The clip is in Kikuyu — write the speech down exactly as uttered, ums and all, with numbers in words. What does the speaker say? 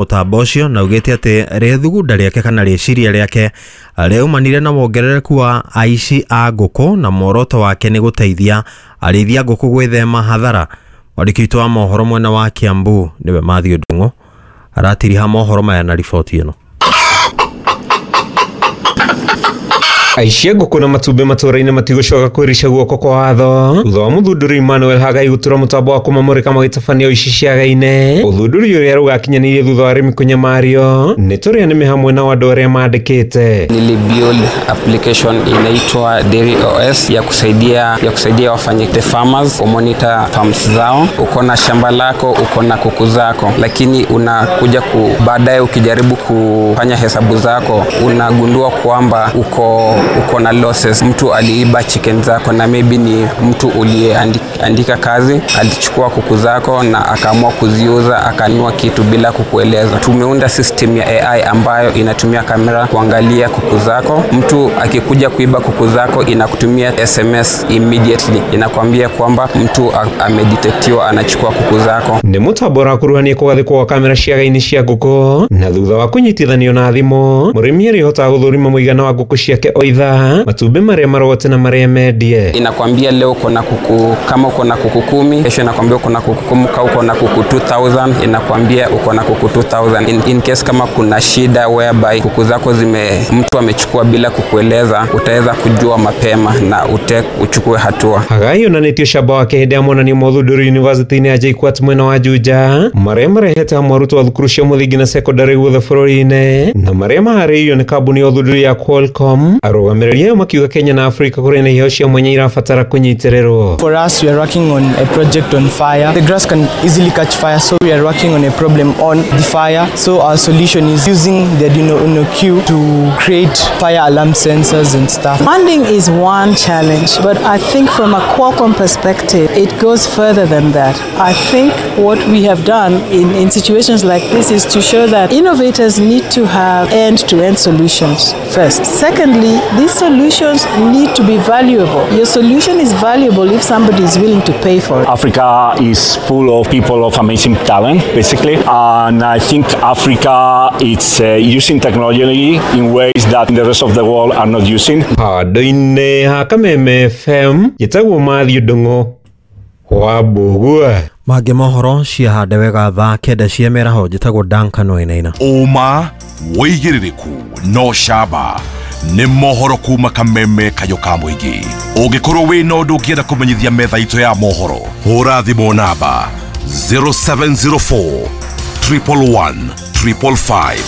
Mũtambo ũcio na augĩte atĩ rĩthugunda rĩake kana rĩciria rĩake rĩaumanire na wongerereku wa aici a ngũkũ na muoroto wake nĩ gũteithia arĩithia ngũkũ gwĩthema hathara. Mwandĩki witũ wa mohoro mwena wa Kiambu nĩwe Matthew Ndung'u aratiriha mohoro maya na riboti ĩno. Aici a ngũkũ na matumbĩ matũra-inĩ matigũcoka kwĩrica guoko kwa watho thutha wa mũthundũri Emmanuel Hagai gũtura mũtambo wa kũmamũrĩka magĩtabania ũici ciaga-inĩ. Ũthundũri ũrĩa rũgakinyanĩirie thutha wa arĩmi kũnyamario nĩ tũrĩa nĩme hamwe na andũ arĩa mandĩkĩte. Nilibuild application inaitwa Dairy O S ya kusaidia ya kusaidia wafanye the farmers kumonitor farms zao. Uko na shamba lako, uko na kuku zako, lakini unakuja ku baadaye ukijaribu kufanya hesabu zako unagundua kwamba uko uko na losses. Mtu aliiba chicken zako na maybe ni mtu uliyeandika kazi alichukua kuku zako na akaamua kuziuza akanunua kitu bila kukueleza. Tumeunda system ya A I ambayo inatumia kamera kuangalia kuku zako. Mtu akikuja kuiba kuku zako inakutumia S M S immediately, inakwambia kwamba mtu amedetectiwa anachukua kuku zako. Nĩ mũtambo ũrakuruhania kũgathĩkwo kwa kamera ciaga-inĩ cia ngũkũ na thutha wa kũnyitithanio na thimũ mũrĩmi arĩhotaga gũthũrima mũigana wa ngũkũ ciake o ithaa, matumbĩ marĩa marogote na marĩa mendie. Inakwambia leo uko na kuku, kama uko na kuku kumi, kesho inakwambia uko na kuku kumi, kama uko na kuku two thousand inakwambia uko na kuku two thousand. In, in case kama kuna shida whereby kuku zako zime mtu amechukua bila kukueleza, utaweza kujua mapema na ute, uchukue hatua. Hagai onanĩtie ũcamba wake hĩndĩ ya monanio ma ũthundũri University-inĩ ya J K U A T mwena wa Juja, marĩa marehete hamwe arutwo a thukuru cia mũthingi na secondary guothe bũrũri-inĩ na marĩa maharĩirio nĩ kambuni ya ũthundũri ya Qualcomm. Arũgamĩrĩri ayo makiuga Kenya na Afrika kũrĩ na iheo cia mwanya irabatara kũnyitĩrĩrwo. For us, we are working on a project on fire. The grass can easily catch fire, so we are working on a problem on the fire. So our solution is using the Arduino Uno Q to create fire alarm sensors and stuff. Funding is one challenge, but I think from a Qualcomm perspective, it goes further than that. I think what we have done in, in situations like this is to show that innovators need to have end-to-end solutions first. Secondly, these solutions need to be valuable. Your solution is valuable if somebody is willing to pay for it. Africa is full of people of amazing talent, basically, and I think Africa is uh, using technology in ways that the rest of the world are not using. Handũ-inĩ ha Kameme F M njĩtagwo Matthew Ndung'u wa Mbũgua. Mangĩ mohoro ciahande wega thaa kenda cia mĩaraho. Njĩtagwo Duncan Wainaina. Ũma wĩigĩrĩrĩku no camba nĩ mohoro kuma Kameme kayo ka mũingĩ. Ũngĩkorwo wĩna ũndũ ũngĩenda kũmenyithia metha itũ ya mohoro, hũra thimũ namba zero seven zero four triple one triple five.